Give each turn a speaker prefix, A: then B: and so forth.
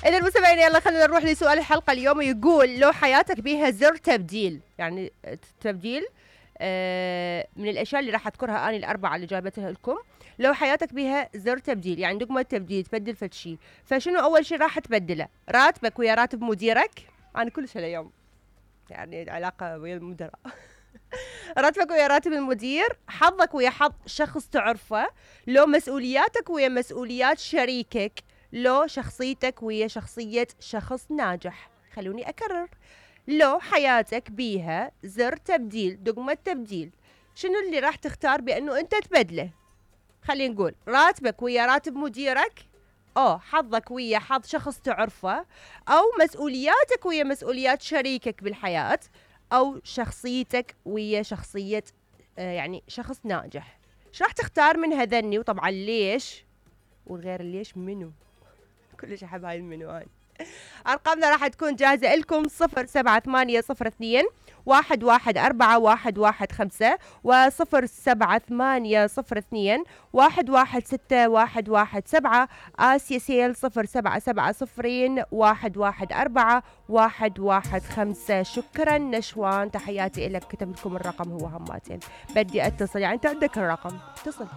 A: اذا مستمعينا يلا خلينا نروح لسؤال الحلقه اليوم. يقول لو حياتك بيها زر تبديل، يعني تبديل من الاشياء اللي راح اذكرها اني الاربعه اللي جايبتها لكم. لو حياتك بيها زر تبديل، يعني دقمه تبديل تبدل فد شيء، فشنو اول شيء راح تبدله؟ راتبك ويا راتب مديرك؟ انا كلش هاليوم يعني علاقه ويا المدراء. راتبك ويا راتب المدير، حظك ويا حظ شخص تعرفه، لو مسؤولياتك ويا مسؤوليات شريكك، لو شخصيتك ويا شخصية شخص ناجح. خلوني أكرر، لو حياتك بيها زر تبديل، دقمة تبديل، شنو اللي راح تختار بأنه أنت تبدله؟ خلينا نقول راتبك ويا راتب مديرك، حظك ويا حظ شخص تعرفه، أو مسؤولياتك ويا مسؤوليات شريكك بالحياة، أو شخصيتك ويا شخصية يعني شخص ناجح. ايش راح تختار من هذني؟ وطبعا ليش؟ وغير ليش منو؟ كلش احب هاي المنو. هاي ارقامنا راح تكون جاهزة لكم 07802 114 115 و07802 116117 آسيا سيل 0770 114 115. شكرا نشوان، تحياتي لك. كتب لكم الرقم هو هماتين، بدي اتصل، يعني انت عندك الرقم اتصل.